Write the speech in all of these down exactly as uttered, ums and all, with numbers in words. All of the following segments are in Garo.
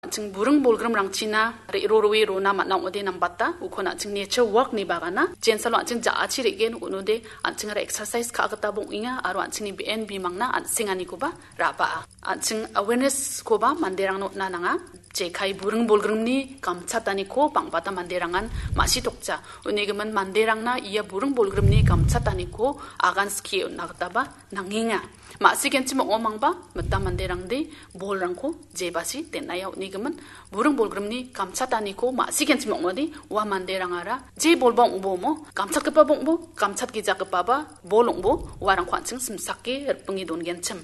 An·ching buring bolgrimrangchina re-, ro-, roe rona man·a ong·ode nambata, ukon an·ching nature walk-ni bagana, jensalo an·ching ja·achi re·gen un·ode, an·chingara exercise ka·a gitaba ong·enga, aro an·chingni be·en bimangna an·senganikoba ra·baa. An·ching awareness-koba manderangna on·a nanga. Jekai buring bolgrimni gamchataniko bang·bata manderangan ma·sitokja. Unigimin manderangna ia buring bolgrimni gamchataniko agan skie on·a gitaba nangenga. Ma·sigenchim ong·omangba mita manderangde bolrangko jebasi den·aia unigimin buring bolgrimni gamchataniko ma·sigenchim ong·ode ua manderangara je bolba ong·bo omo, gamchatgipaba ong·bo, gamchatgijagipaba bol ong·bo, uarangko an·ching simsake ripinge dongenchim.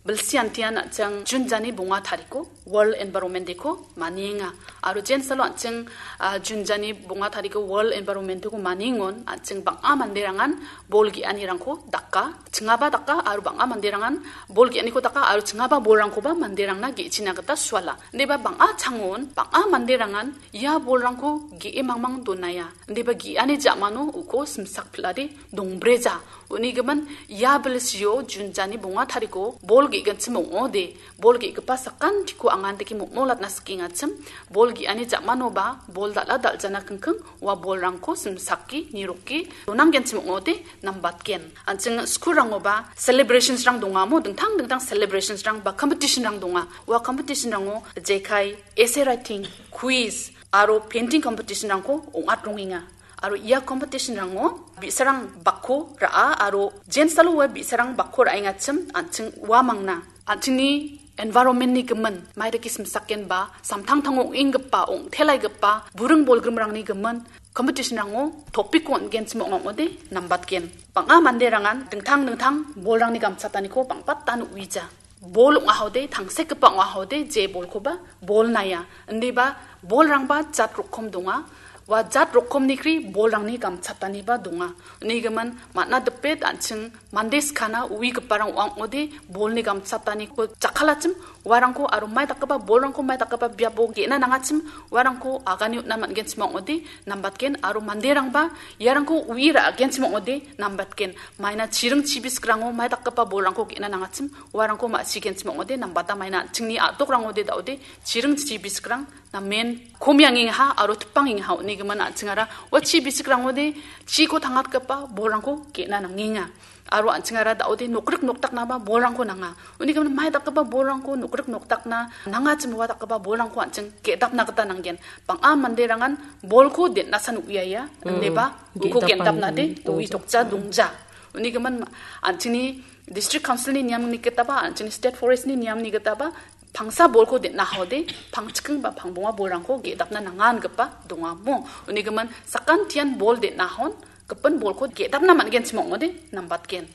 Bilsi antian an·ching Jun jani bonga tariko World Environment Day-ko manienga. Aro jensalo an·ching, ah, Jun jani bonga tariko World Environment Day-ko maniengon an·ching bang·a manderangan bol ge·anirangko daka, chingaba daka, aro bang·a manderangan bol ge·aniko daka, aro chingaba bolrangkoba manderangna ge·china gita suala. Indiba bang·a changon, bang·a manderangan ia bolrangko ge·e mangmang donaia. Indiba ge·ani ja·mano uko simsak pil·ade dongbreja. Unigimin ia bilsio Jun jani bonga tariko bol ge·ginchim ong·ode, bol ge·gipa sakantiko angandike mokmolatna sikengachim, bol ge·ani ja·manoba bol dal·a dal·jana kingking ua bolrangko simsake, niroke, donanggenchim ong·ode nambatgen. An·ching skulrangoba celebrationsrang dongamo, dingtang dingtang celebrationsrang ba competitionrang donga. Ua competitionrango jekai essay writing, quiz, aro painting competitionrangko ong·atrongenga. Aro ia competitionrango bi·sarang bakko ra·a aro jensalo ua bi·sarang bakko ra·engachim an·ching ua mangna. An·chingni environmentni gimin, maidake simsakenba, samtangtango ong·enggipa, ong·telaigipa, buring bolgrimrangni gimin, competitionrango topicko on·genchim ong·ode nambatgen. Bang·a manderangan dingtang dingtang bolrangni gamchataniko bang·batan uija. Bol ong·ahode, tangsekgipa ong·ahode, je bolkoba bol naia. Indiba bolrangba jat rokom donga. Ua jat rokomnikri bolrangni gamchataniba donga. Unigimin man·a dipet an·ching mande skana uigiparang ong·ode bolni gamchataniko jakkalachim uarangko aro mai dakgipa bolrangko mai dakgipa biapo ge·na nangachim uarangko agane on·na man·genchim ong·ode nambatgen aro manderangba iarangko ui ra·genchim ong·ode nambatgen. Maina chiring chibisgrango mai dakgipa bolrangko ge·na nangachim uarangko ma·sigenchim ong·ode nambata maina an·chingni a·dokrangode da·ode chiring chibisgrang namen komiangengaha aro tipangengaha unigimin an·chingara ua chibisgrangode chiko tangatgipa bolrangko ge·na nangenga. Aro an·chingara da·ode nokrik nokdaknaba bolrangko nanga. Unigimin mai dakgipa bolrangko nokrik nokdakna nangachim ua dakgipa bolrangko an·ching ge·dapna gita nanggen. Bang·a manderangan bolko den·asan uiaia, indiba uko ge·dapna gen·dapnade dongja. Uitokja dongja. Unigimin an·chingni District Council-ni niamni gitaba, an·chingni State Forest-ni niamni gitaba, pangsa bolko den·a haode, pangchiking ba pangbonga bolrangko ge·dapna nanga ingipa dongamo. Unigimin sakantian bol den·a hon, gipin bolko ge·dapna man·genchim ong·ode nambatgen.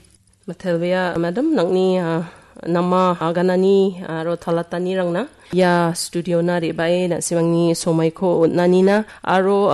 Mitelbea, madam, nangni, ah, nama aganani aro talatanirangna ia studiona re·bae na·simangni somaiko on·anina aro